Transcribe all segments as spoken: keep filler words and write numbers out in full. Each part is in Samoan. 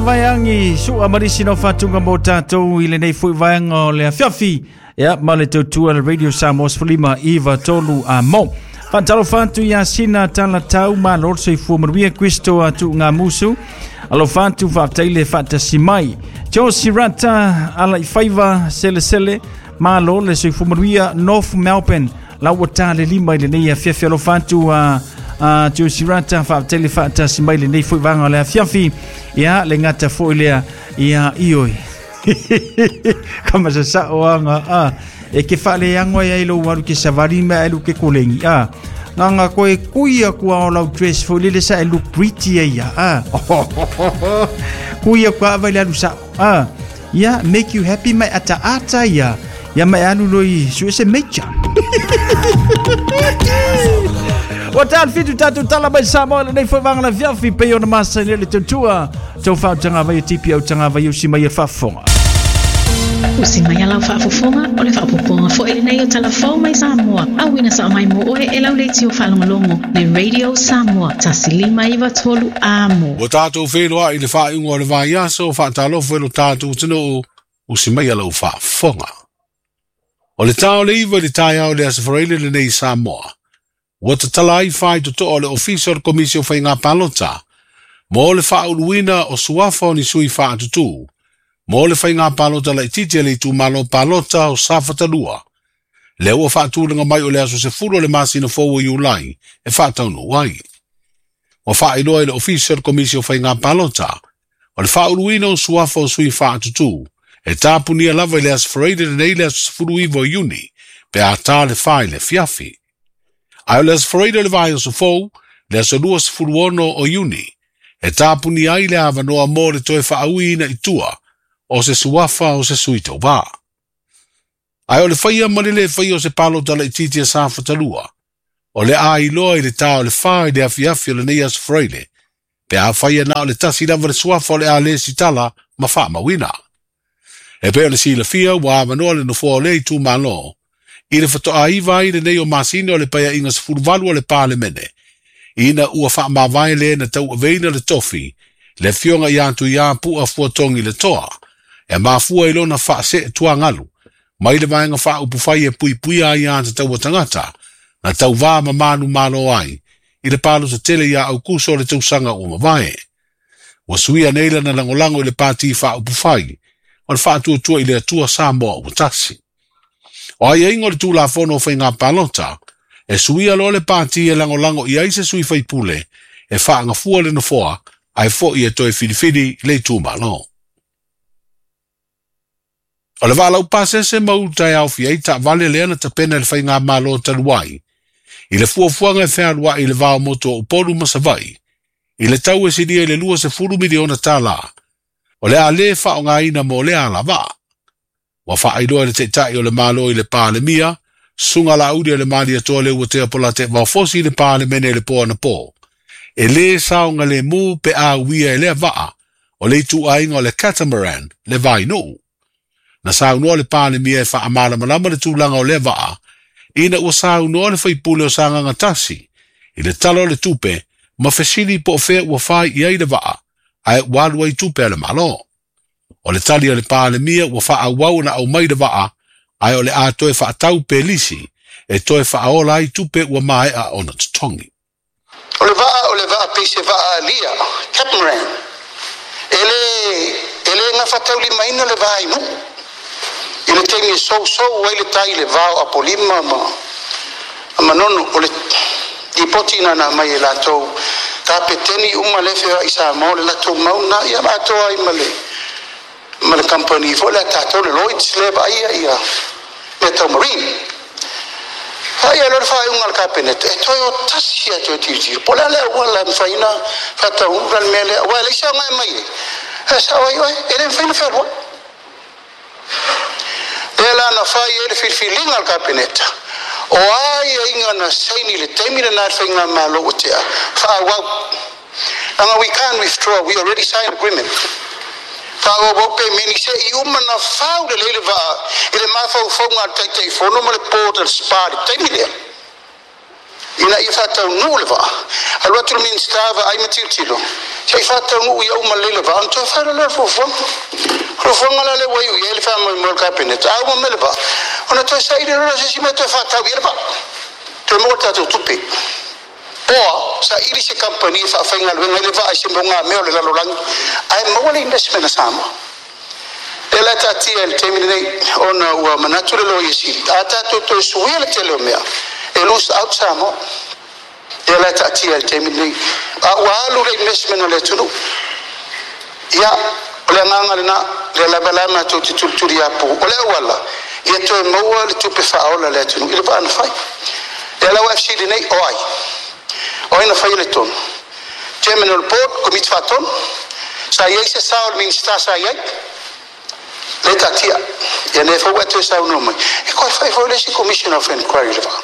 Vaiangi sua marisi no fatunga mo tātou i lenei fui vaenga o le afiafi. Ia, ma le tautua le Radio Samoa sefulima iva tolu a mo. Whantalo whantu ia sina tala tau ma lor soifua manuia Kristo atu ngā musu. Alo whantu whaptaile whatasi mai. Tio sirata ala i whaiva sele sele. Ma lor le soifua manuia North Melbourne. Lau tā le lima i lenei afiafi alo whantu a... Uh, Tio Sirata whaptele whatasi mai lenei fui vanga le afiafi. Ia le ngata fo lea ia ioi. Kama sa sa oanga a e ke whale angwa ia ilo waru ke savari mea elu ke kolengi a. Nganga koe kuia kua o lau dress fo lele sa e look pretty e ia a. Kuia kua awa ile alu sa a. Ia make you happy mai ata ata ia. Ia mai alu loi suese mecha. Wa tān fitu tātou tala mai Samoa lenei foi vanga la fiafi pe ona masa le tautua. Tau whau tanga vai tipi au tanga vai usi mai e whaafonga. Usi mai alau whaafofonga o le whaapoponga fo e lenei o talafou mai Samoa. Au ina sa mai mo oe e lau le tio whalongolongo le Radio Samoa tasilima iwa tolu amo. Wa tātou wheloa i le whainga o le vai aso whaatalofo e lo tātou tino usi mai alau whaafonga. O le tao le iwa le tai au le asafareile lenei Samoa. Ua tatala ai whai toto o le ofisa o le komisi o whainga palota. Mo le whauluina o suafa o ni sui whaatutu. Mo le whainga palota la ititi le itu malo palota o Safatalua. Le ua whaatulanga mai o le aso se fulu o le masina fōua Iulai e whaataunu ai. Ua whaailoa i le ofisa o le komisi o whainga palota. O le whauluina o suafa o sui whaatutu. E tāpunia lava i le aso whareire le nei le aso se fulu iwa o Iuni. Pe a tā le whai le fiafi. Ai o le aso whareire le vai o sofou, le aso lua sefulu ono o Iuni. E tāpuni ai le awanoa mō le toe whaauina i tua, o se suafa o se suito wā. Ai o le whaia manele whaia o se palota le ititi a Safatalua. O le ailoa i le tā o le whai le afiafi o le nei aso whareire. Pe a whaia nā o le tasi lava le suafa o le a le sitala ma whaamawina. E pe o le silafia wa awanoa le nofoa o le i tū malo. I le whatoa iwa ai le nei o masina o le paia inga sefuluvalu o le pālemene. Ina ua whaamawai le na tau aveina le tofi, le fionga i atu i a pua fuatongi le toa, e mafua i lona whaase tuangalu, mai le vaenga whaupufai e pui pui ai ata taua tangata, na tau vā mamanu malo ai, i le palo sa tele ia au kuso le tausanga ua mavae. Ua suia neila na langolango i le pāti whaupufai, o le whaatuatua i le atua Samoa ua tasi. O ai aingo le tūla fono whainga palota, e suia lo le pāti e langolango i aise sui whaipule, e whaangafua le nofoa, ai fo i e toe whiriwhiri le tūmalo. O le wālau pāsese mauta e au fiai ta vale lea na tapena le whainga malo taluai, i le fuafuanga e whealua i le vao moto o Upolu Masavai, i le tau e siria i le lua se fulu miliona tālā, o le a le whaongaina mo le ala vaa. Wa whaailoa le teitai o le malo i le pālemia, sunga la uri o le mali atoa le ua tea pola te vaofosi i le pālemene le pō ana pō. E le saonga le mū pe a uia e lea vaa, o le itu ainga o le catamaran, le vai nuu. Na saunoa le pālemia e whaamalamalama le tūlanga o lea vaa, ina ua saunoa le whaipule o sanganga tasi, i le tala o le tupe, ma fesili po o fea ua whai i ai le vaa, ae walu ai tupe a le malo. O le tali o le pālemia ua whaawau na au mai le vaa, ai o le a toe whaatau pelisi, e toe whaaola ai tupe ua maea ona tutongi. O le vaa o le vaa peise vaa alia, catamaran. E le, e le ngā whatauli maina le vaa inu. I le teimi e sou sou ai le tai le vao apolima ma, manono o le ripoti na na mai e latou. Kapeteni uma le fea i Samoa le latou mauna ia atoa ai ma le ma le company fo le tatou le Lloyds le vaia ia Metal Marine. Ai lo fa unga le cabinet e toi o tasi e toi tiri. Po le le wala mfaina fata unga le mele wa le sa mai mai. E sa oi oi e le mfaina fa ro. Le la na fa e le filfilinga le cabinet. O ai inga na saini le taimi na whainga malo o tea. Fa wau. Anga we can't withdraw, we already signed agreement. Fa o pe meni se i uma na fau le lele va i le mafau fonga taitai fono ma le port le spa le taimi lea. Ina ia whātau le vaa. Alu atu le minista va ai matiltilo. Se i whātau nuu ia uma lele vaa. Ona toe whaira lea fuafuaga. Fuafuaga la le wai ui e le wha mo le kapeneta. A uma mele vaa. Ona toe sa ile rola se si mea toe whātau i le vaa. Toe mo tātou tupe. Poa, sa ili se kampani e whaawhainga luenga i le vaa i se monga mea o le lalolangi. Ae maua le investment a Samoa. Le la tātia le taimi nei, ona ua manatu le loia sili. A tātou toe suia le tele o mea. E lose out Samoa. Le la tātia le taimi nei. A ua alu le investment o le tunu. Ia, o le anganga le na, le lava la mātou te tulituli apu. O le awala, ia toe maua le tupe whaola le atunu. I le vaa na whai. Le la ua F C D nei, o ai. O ai na whai le tonu. Chairman o le board, komiti whaatonu. Sa iai se sao le minista sa iai. Le tatia. Ia ne fau atu e sau no mai. E koe whai fau le si Commission of Inquiry le vaa.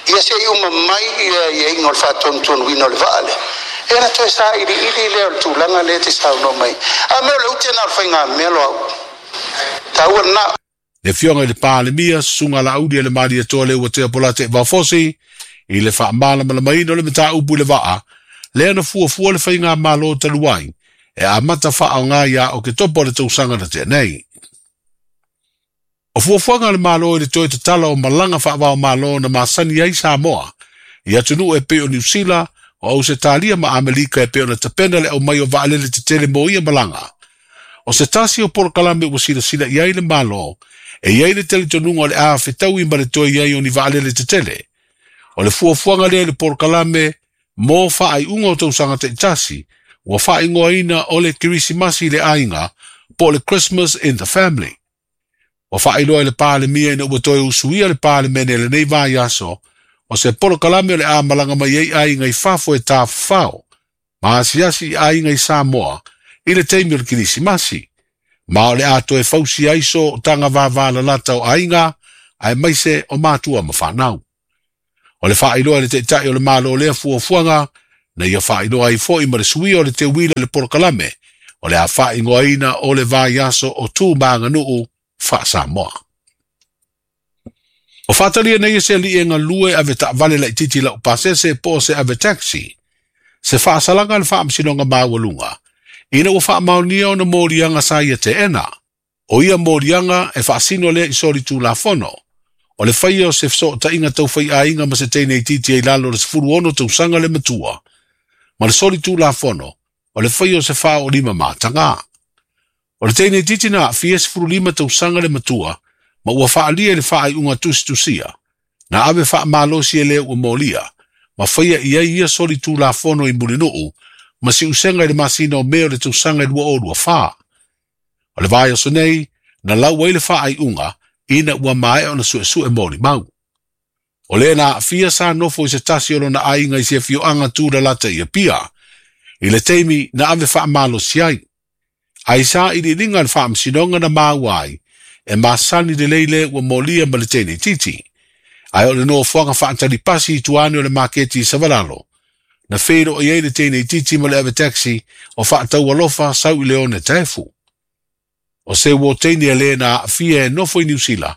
Ia se i uma mai ia ia ingo le whaatonu tonu ino le vaa le. E na toe sa ili ili le o le tūlanga le te sau no mai. A meo le ute na o le whainga melo au. Taua na. Le fionga i le Palemia, sunga la audi le maria toa le ua tea pola te vafosi, i le whaamala malamaina o le mata upu le vaa, le ana fuafua le whainga malo taluai, e a mata wha o ngā ia o ke topo le tausanga na te nei. O fuafuanga le malo i le toe tatala o malanga whaawao malo na masani ai Samoa, i atunu e peo New Zealand, o au se talia ma Amelika e peo na tapena le au mai o vaalele te tele mo ia malanga. O se tasi o porokalame ua sila sila i ai le malo, e iai le tele tonunga o le a whetaui ma le toe iai o ni vaalele te tele. O le fuafuanga lea le porokalame mō whaai unga o tausanga te tasi, ua whaingoaina o le Kirisimasi le ainga, po le Christmas in the family. O whaailoa i le Palemia ina ua toe usuia le Palemene le nei vai aso, o se porokalame o le a malanga mai ei ainga i fafo e tāwhao, ma asiasi i ainga i Samoa, i le teimi o le Kirisimasi. Ma o le a toe fausi aiso o tanga vāvāla lata o ainga, ae maise o mātua ma whanau. O le whaailoa le teitai o le malo lea fuafuanga, na ia whaailoa i foi ma le suia o le te wila le porokalame, o le a whaingoaina o le vai aso o tū maanganuu wha Samoa. O whatalia nei se li e ngā lue ave ta vale la ititi la upasese po se ave taxi. Se whaasalanga le whaamsinonga maawalunga. Ina ua whaamaunia o na mōrianga sa ia te ena. O ia mōrianga e whaasino lea i sori tūlafono. O le whaia o se whso ta inga tau whai ainga ma se teinei titi ei lalo le sefuru ono tausanga le matua. Ma le sori tūlafono, o le whaia o se wha o lima mātanga. O le teinei titi na fia sefuru lima tausanga le matua, ma ua whaalia le whaai unga tusitusia. Na ave whaamalosi e lea ua mōlia, ma whaia i ai ia sori tūlafono i mulinuu, ma si usenga i le masina o meo le tausanga i lua o lua wha. O le vai o so nei, na lau ai le whaai unga, ina ua mae ona sue sue mōli mau. O le na fia sa nofo i se tasi o lona ainga i se fioanga tūra lata i a pia. I le teimi na ave whaamalosi ai. Ai sa i li ringa le whaamsinonga na māu ai, e masani le leile ua mōlia ma le tēnei titi. Ai o le nofoanga whaantari pasi i tuane o le maketi i Savalalo. Na whero i ei le tēnei titi ma le ave taxi o whaatau alofa sau i leone tefu. O se wo teini a le na fia e nofo i New Zealand.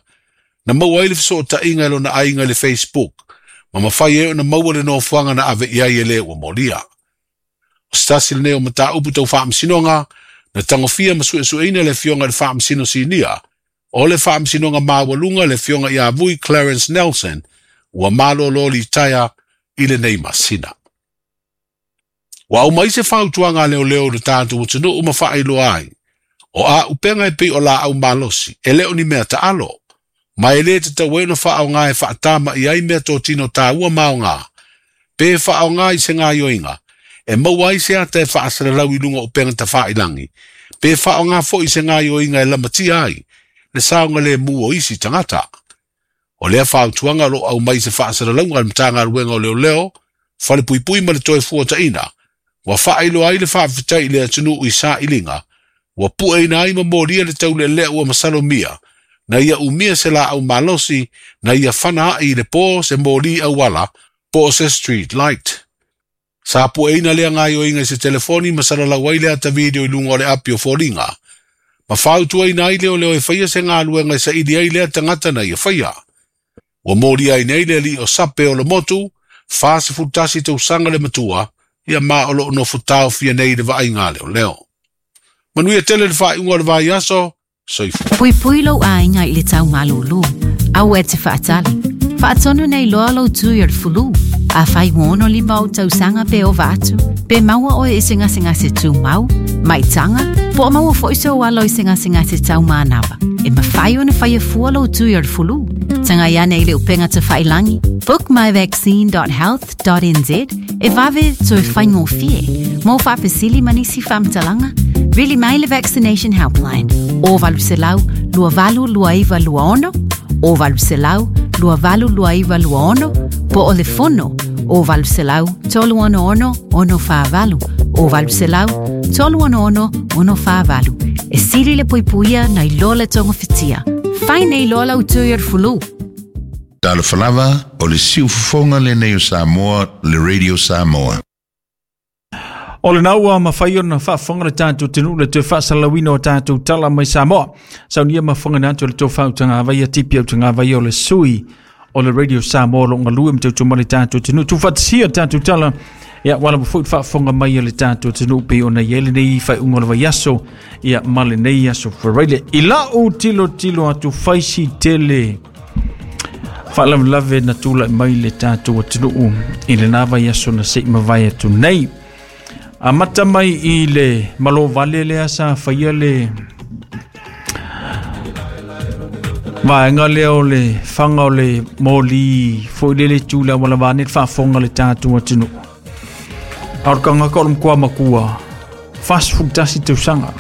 Na maua ai le whaso o tainga e lona ainga i le Facebook. Ma mawhai e o na maua le nofoanga na ave iai e le ua mōlia. O stasi le neo mata upu tau whaamsinonga, na tangofia ma suesueina le fionga le whaamsino sinia. O le whaamsinonga maawalunga le fionga i avui Clarence Nelson, ua malo loli taia i le nei masina. Wa au mai se whautuanga leo leo le tātu utunu uma whaailoa ai. O a upenga e pei o la au malosi, e leo ni mea ta alo. Ma e le te taueno whaao ngā e whaatama i ai mea tō tino tāua mao ngā. Pe whaao ngā i se ngā ioinga, e maua ai se ata e whaasaralau i lunga upenga ta whaailangi. Pe whaao ngā fo i se ngā ioinga e lamatia ai, le saonga le mu o isi tangata. O lea whautuanga lo au mai se whaasaralau ngā mtanga ruenga o leo leo, whale pui pui ma le toe fua taina. Wa whaailoa ai le whaawhitai i le atunu i sa ilinga, ua pua ina ai ma mōria le taule lea ua masalo mia, na ia umia se la au malosi, na ia whana ai le pō se mōri au ala, pō se street light. Sa pua ina lea ngai o inga i se telefoni masala lau ai lea ta video i lunga o le api o fōringa. Ma whautua ina ai leo leo e whaia se ngā luenga i sa ili ai lea tangata na ia whaia. Ua mōria ai nei le li o sape o le motu, Fa sefulu tasi tausaga le matua ia ma o loo nofo taofia nei le vaaiga leoleo. Manuia tele le faaiuga o le vaiaso. Soifua. Puipui lou aiga i le taumalūlū. Aua e te faatali. Faatonu nei loa lou tui o le fulu. Afai ua ono lima ou tausaga pe ova atu, pe maua oe i se gasegase tumau, maitaga, po o maua foi sou alo i se gasegase taumanava. E mafai ona faia fua lou tui o le fulu. Tagai ane i le upega tafailagi, bookmyvaccine dot health dot N Z e vave toe faigofie. Mo faafesili ma nisi faamatalaga, vili mai le Vaccination Helpline o valu selau lua valu lua iva lua ono, o valu selau lua valu lua iva lua ono, po o le fono o valu selau tolu ono ono ono fa valu, o valu selau tolu ono ono ono fa valu. E sili le puipuia nai lo le togofitia. Fai nei loa lau tui o le fulu. Talofa lava, o le siufofoga lenei o Samoa, le Radio Samoa. O le naua mafai ona faafofoga le tatou atunuu le toe faasalalauina o tatou tala mai Samoa. Saunia mafofoga na atu le tofa utagavaia tipi utagavaia o le sui o le Radio Samoa lo galue ma tautua mai le tatou atunuu. Tuufaatasia tatou tala ia wala foi faafofoga mai le tatou atunuu pe ona i ai lenei faaiuga o le vaiaso ia ma lenei aso Faraile. I lau tilotilo atu faisi tele faalavelave na tulai mai le tatou atunuu i lena vaiaso na sei mavae atu nei. Amata mai i le malo vale lea sa faia le vaega lea o le faga o le moli foi lele tu le aualavane le faafofoga le tatou atunuu. A o le kagaka o le makuā makua, fasefulu tasi tausaga.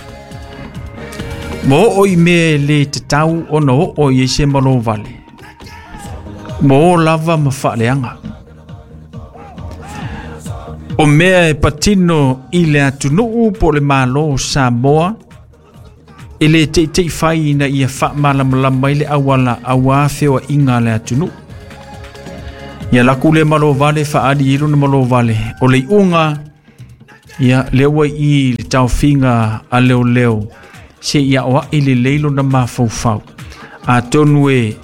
Ma oo i mea e lē tatau ona oo i ai se malo vale. Ma o lava ma faaleaga. O mea e patino i le atunuu po le malo o Samoa, e le teitei fai ina ia faamalamalama ai le auala auā feoaiga a le atunuu. Ia laku le malo vale faaali i lona malo vale. O le iuga, ia lea ua i le taofiga a leoleo se ia oa'i lelei lona mafaufau. Atonu e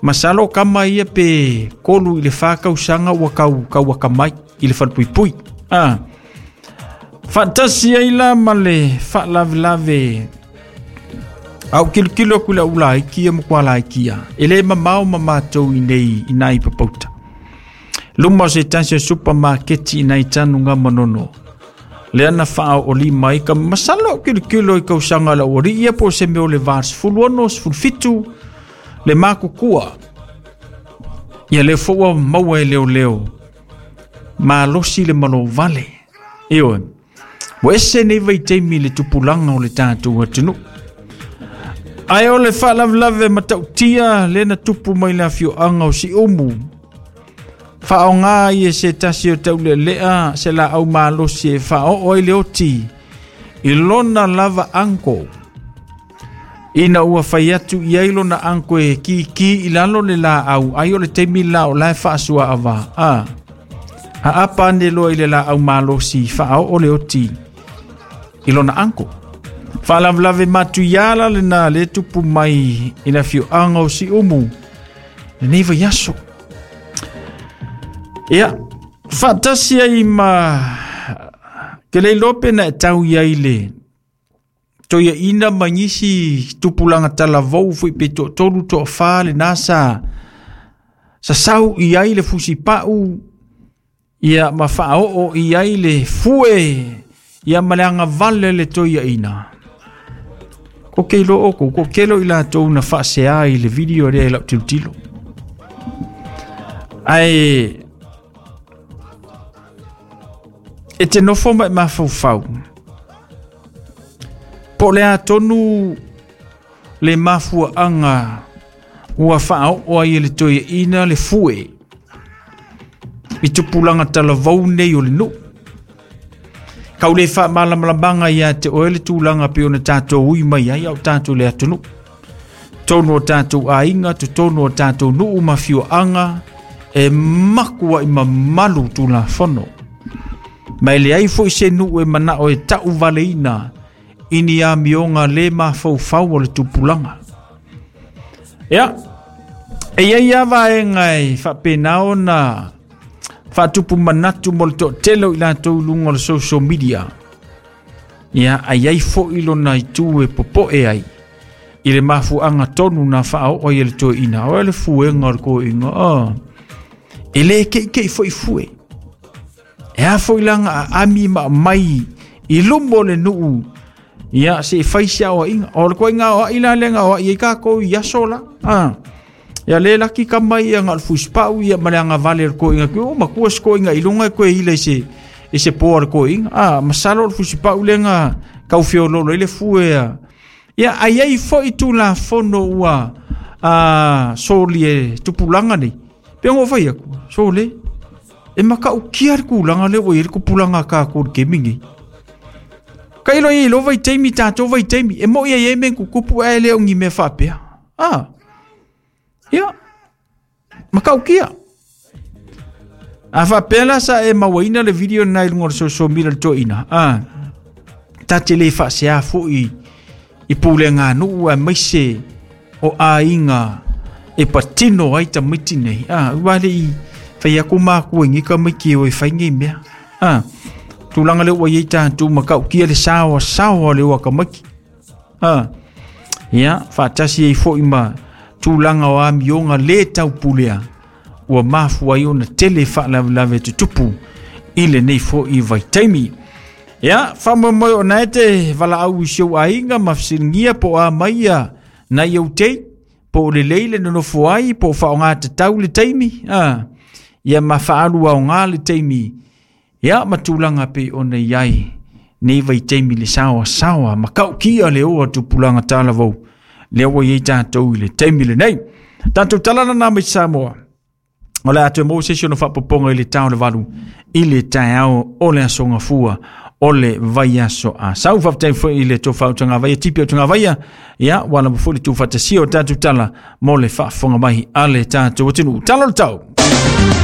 masalo kama ia pe kolu i le fa tausaga ua kau kauakamai i le falepuipui. Ah. Faatasi ai la ma le faalavelave au kilokilo aku i lau laikia ma kua laikia. E le mamao ma matou i nei i nai papauta. Luma o se tasi o supermarketi i nai tanuga manono. Lea na faaooli mai ka masalo au kilokilo i kausaga lau alii ia po o se mea o le va sefulu ono, sefulu fitu le makukua. Ia lea foi ua maua e leoleo. Malosi le malo vale. Ioe. Ua ese nei vaitaimi le tupulaga o le tatou atunuu. Ae o le faalavelave matautia lea na tupu mai le afioaga o Siumu. Faaaogā ai e se tasi o taulealea se laau malosi e faaoo ai le oti i lona lava uncle. Ina ua fai atu i ai lona uncle e kiki i lalo le laau, ai o le taimi la o la e faasuaava. A. Aapa ane loa i le laau malosi faaoo le oti i lona uncle. Faalavelave matuiala lena le tupu mai i le afioaga o Siumu lenei vaiaso. Ia, faatasi ai ma ke le iloa pe na e tau i ai le toeaina ma nisi tupulaga talavou foi pe toatolu toafā lena sa sasau i ai le fusipau ia ma faaoo i ai le fue ia ma le agavale le toeaina. Ko ke iloa oukou, ko kelo i latou na faaseā i le video lea i lau tilotilo. Ae e te nofo ma e mafaufau. Po le atonu le mafuaanga ua faaoo ai e le toeaina le fue i tupulaga talavou nei o le nuu. Kau le faamalamalamaga ia te oe le tulaga pe ona tatou ui mai ai au tatou le atunuu. Tonu o tatou aiga, totonu o tatou nuu ma afioaga e makuai mamalu tulafono. Ma e leai foi se nuu e manao e tauvaleina i ni amioga le mafaufau o le tupulaga. Ia, e iai lava vaega e faapena ona Faatupu manatu mo le toatele o i latou i luga o le social media. Ia ai ai fo'i lona itu e popo'e ai i le mafuaga tonu na faaoo ai e le toeaina. O le fuega o le toeaina, oh. E lē ke'ike'i fo'i fue. E a fo'i laga aami ma aumai i luma o le nuu, ia se i fai se aoa'iga. O le koaiga aoa'i la lea na aoa'i ai takou i aso la. Ah. Ia le laki kama ia nga o le fusipa'u ia ma le agavale o le koiga. O matua se koiga i luga e koe ila i se, i se poa o le koiga. Ah, masalo o le fusipa'u lea na taufiololo ai le fue a. Ia ai ai fo'i tulafono ua a, soli e tupulaga nei. Pe o fai aku, sole. E maka'ukia le kulaga lea ua i ai le tupulaga a takou i le kemi nei. Kailo i lo vai taimi tatou vai taimi. E mo'i ai ai mea tutupu ae le o ni mea faapea. Ah. Ia. Maka'ukia. A faapea la sa e mauaina le video na i luga o le social media le toeaina. Ah. Ta te le faasea fo'i i puleganuu aemaise o aiga e patino ai tamaiti nei. Ah, ua le'i fai aku makua i nei tamaiti e o e fai nei mea. Ah. Tulaga lea ua iai tatou maka'ukia le saoasaoa o le o tamaiti. Ah. Ia, faatasi ai fo'i ma tulaga o amioga lē taupulea ua mafua ai ona tele faalavelave tutupu i lenei fo'i vaitaimi. Ia, faamoemoe ona e te valaau i si ou aiga ma fesiligia po o a mai ia nai ou tei, po o lelei le nonofo ai, po o faaaogā tatau le taimi, ah. Ia ma faaalu aogā le taimi, ia ma tulaga pei ona i ai nei vaitaimi le saoasaoa maka'ukia le oa tupulaga talavou lea ua iai tatou i le taimi lenei. Tatou tala lana mai Samoa. O le a toe maua se isi ona faapopoga i le tao le valu i le taeao o le aso Gafua o le vaiaso a sau. Faafetai foi i le tofa o Tagavaia, tipi o Tagavaia, ia ua lava foi le tuufaatasia o tatou tala mo le faafofoga mai a le tatou atunuu. Tala o le tau.